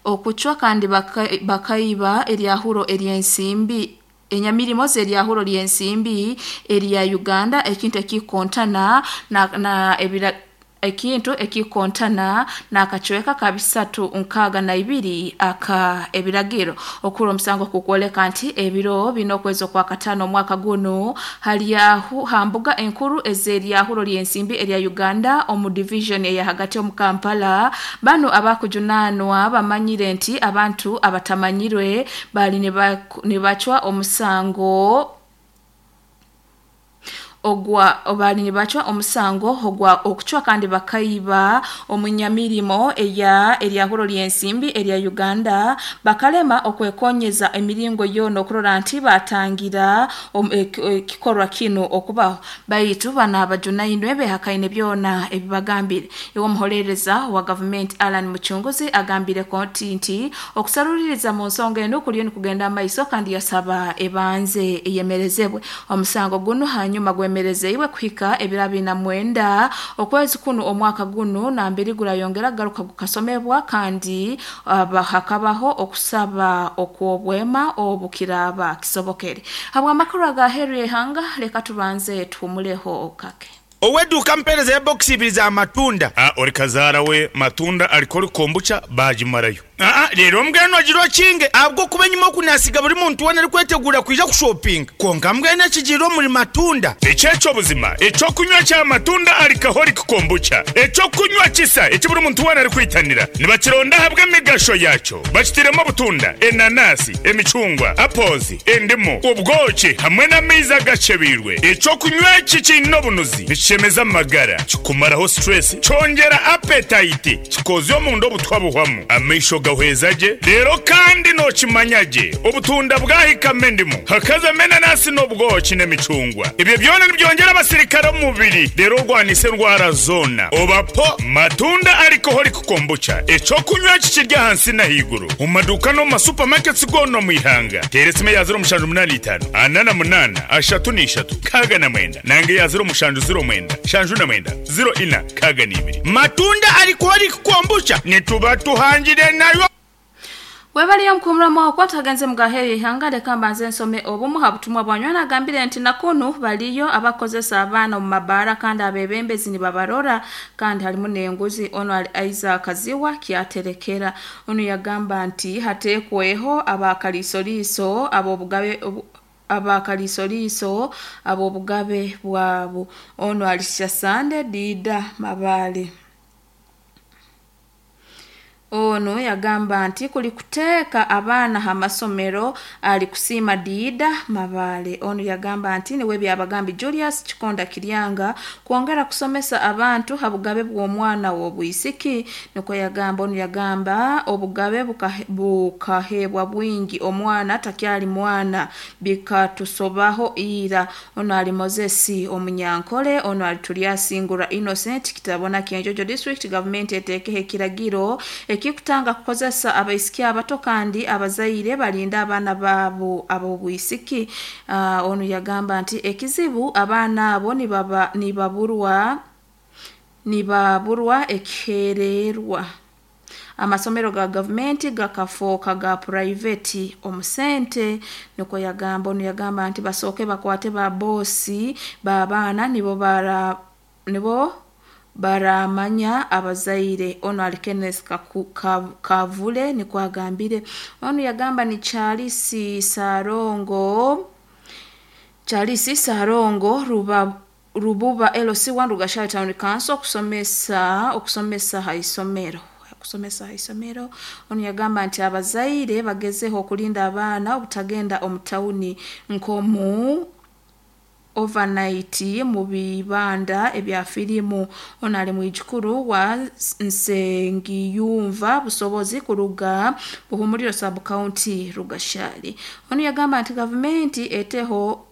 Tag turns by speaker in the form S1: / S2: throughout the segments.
S1: Okucwa kandi bakaiba eryahuro ery'ensimbi enyamirimo z'eryahuro ly'ensimbi erya Uganda, ekintu ekikontana na ebira ekintu ekikontana n'akacweka ka 362 aka ebiragiro. Okura omusango kukwoleka nti ebiro bina okwezi okwa kataano omwaka gunu halyahu hambuga enkuru ez'eryahuro ly'ensimbi erya Uganda omu division eya hagati omu Kampala. Banu abakujunaanwa bamanyire nti abantu abatamanyirwe bali nibacwa omusango ogwa bali nibacwa omusango ogwa okucwa kandi bakaiba omunyamirimo eya eryahuro ly'ensimbi erya Uganda, bakalema okwekonyeza emiringo yoona okurora nti batangira ekikorwa kinu okubaho. Baitu bano abajunainwe behakaine byona ebibagambire. Iwe omuholereza wa gavumenti Alan Muchunguzi agambire kooti nti okusaruliriza mu nsonga enu kuliyo nikugenda amaiso, kandi yasaba ebanze eyemerezebwe omusango gunu hanyuma gwemerezeiwe kuhika ebiro 29 okwezi kuno omwaka guno nambiri gurayongera garuka gukasomebwa, kandi hakabaho okusaba okw'obwema obukiraba kisobokere. Habw'amakuru aga heru y'ihanga, leka tubanze tuhumuleho kake.
S2: Oweduuka mpereza ya bokisi ibiri za matunda.
S3: Ori kazaara we matunda alikoli kombucha bagimarayo.
S2: Leero mbwenu ogira okinge ahabw'okuba enyima oku nasiga buri muntu weena arikwetegura kwija kushopinga, kwonka mbwenu ekigiire omuri matunda.
S3: Eki eky'obuzima, eky'okunywa kya matunda alcoholic kombucha, eky'okunywa kisa eki buri muntu weena arikwitanira. Nibakironda ahabw'emigasho yakyo. Bakitiremu obutunda, enanasi, emicungwa, apples, endimu, obwoki hamwe n'amaizi agacebeirwe. Eky'okunywa eki kiine obunuzi, nikishemeza amagara, kikumaraho stress, kyongyera appetite, kikozya omunda obutwa buhwamu, amaisho gahweza gye, reero kandi nookimanya gye obutunda bwahikamu endimu, hakazamu enanasi n'obwoki n'emicungwa. Ebyo byona nibyongyera abasirikare omu mubiri reero orwanise endwara zoona. Oba po matunda alcoholic kombucha, eky'okunywa eki kiri ahansi n'ahaiguru omu maduuka n'omu ma supermarkets goona omu ihanga. Teera esimu eya 0785 48 33 69 nanga eya 0709 79 04 62.
S2: Matunda alcoholic kombucha nituba tuhangire nayo.
S1: Webaliyo omukumuramu okwo tagenze mugaheyo ihanga, leka mbanze nsome obumu ha butumwa bwanywana. Agambire nti nakunu baliyo abakozesa abaana omu mabaara kandi abebembezi nibabarora kandi harimu n'enguzi. Ono ali Isaac Ziwa kyaterekera. Ono yagamba nti hateekweho abakaliisoliiso ab'obugabe abakaliisoliiso ab'obugabe bwabo. Ono ali Sande Dida Mabale. Ono yagamba nti kuli kuteeka abaana ha masomero ali kusiima Diida Mabale. Ono yagamba nti niwe byabagambi Julius Kikonda Kiryanga kwongera kusomesa abantu ha bugabe bw'omwana w'obwisiki, nikwo yagamba. Ono yagamba obugabe bukahebwa bwingi, omwana takyali mwana, bikatusobaho ira. Ono ali Moses Omunyankole. Ono ali Turyasingura Innocent Kitabona Kyenjojo District. Gavumenti eteekeho ekiragiro ekikutanga kukozesa abaisiki abato kandi abazaire balinda abaana baabo ab'obwisiki. Ono yagamba nti ekizibu abaana abo nibaburwa ekihererwa. Amasomero ga gavumenti gakafooka ga purayiveti omusente, nikwo yagamba. Ono yagamba nti basooke bakwate ba boosi b'abaana nibo baramanya abazaire. Ono ali Kenneth Kavule nikwo agambire. Ono yagamba ni Charles Sarongo Rububa LC1 Rugashari Town Council okusomesa ha isomero. Ono yagamba nti abazaire bagezeho okulinda abaana obutagenda omu tawuni nk'omu overnight mu bibanda ebya firimu. Ono ali mwijukuru wa Nsengiyumva Busobozi kuruga Buhumuriro sub county Rugashari. Ono yagamba nti gavumenti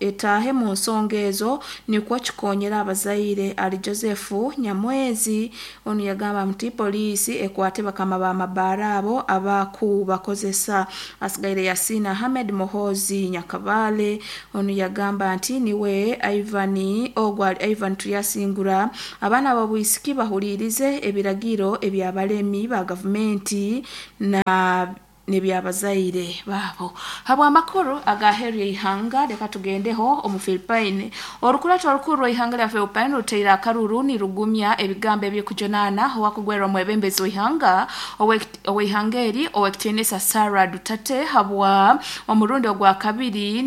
S1: etaahe mu nsonga ezo nikwo kikonyera abazaire. Ali Joseph Nyamwezi. Ono yagamba nti poliisi ekwate bakama b'amabaara abo abakubakozesa. Asigaire Yasina Ahmed Muhozi Nyakabale. Ono yagamba nti niwe Ivan ogwo ali Ivan Turyasingura. Abaana b'obwisiki bahulirize ebiragiro ebyabalemi ba gavumenti na nebyabazaire babo. Habw'amakuru agaheru y'ihanga, leka tugendeho omu Philippine. Orukurato orukuru rw'ihanga lya Philippine ruteire akaruru nirugumya ebigambo eby'okujunaana owakugwerwa omwebembezi w'ihanga ow'ihanga eri ow'ekitiinisa Sara Duterte habwa omurundi ogwa kabiri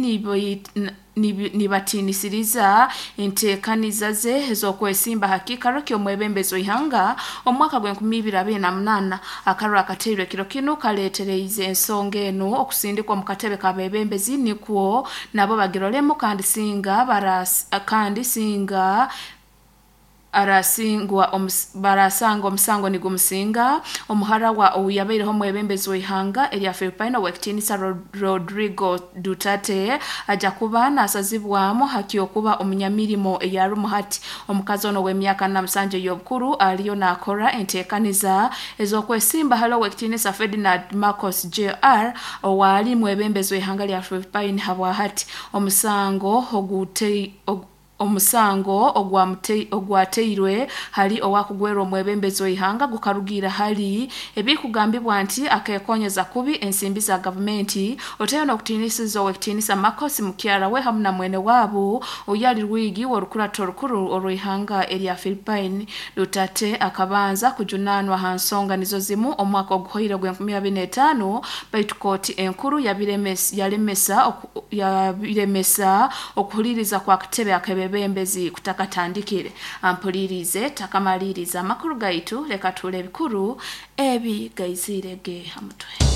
S1: nibatiinisiriza enteekaniza ze ez'okwesimba ha kiikaro ky'omwebembezi w'ihanga omu mwaka gw'e2028. Akaruru akateirwe ekiro kinu kaleetereize ensonga enu okusindikwa omu katebe k'abebembezi nikwo nabo bagirolemu, kandi singa barasanga omusango nigumusinga omuhara wa ouyabaireho omwebembezi w'ihanga erya Philippine ow'ekitiinisa Rodrigo Duterte ajja kuba naasazibwamu hakyokuba omunyamirimo eyarumu hati. Omukazi ono ow'emyaka 47 ey'obukuru aliyo naakora enteekaniza ez'okwesimba hali ow'ekitiinisa Ferdinand Marcos Jr owaali mwebembezi w'ihanga lya Philippine habwa hati. Omusango ogwateirwe hali owakugwerwa omwebembezi w'ihanga gukarugiira hali ebikugambibwa nti akekonyeza kubi ensimbi za gavumenti, oteyo n'okutiinisiza ow'ekitiinisa Marcos mukyara we hamu na mwene waabo oyali rwigi w'orukurato orukuru orw'ihanga erya Philippine. Duterte akabanza kujunaanwa ha nsonga nizo zimu omwaka oguhoire ogw'e2025, baitu kooti enkuru yabiremesa okuhuliriza kwa katebe ak'ebebembezi kutakatandikire. Ampulirize takamaliriza amakuru gaitu, leka tuule ebikuru ebi gaizirege ha mutwe.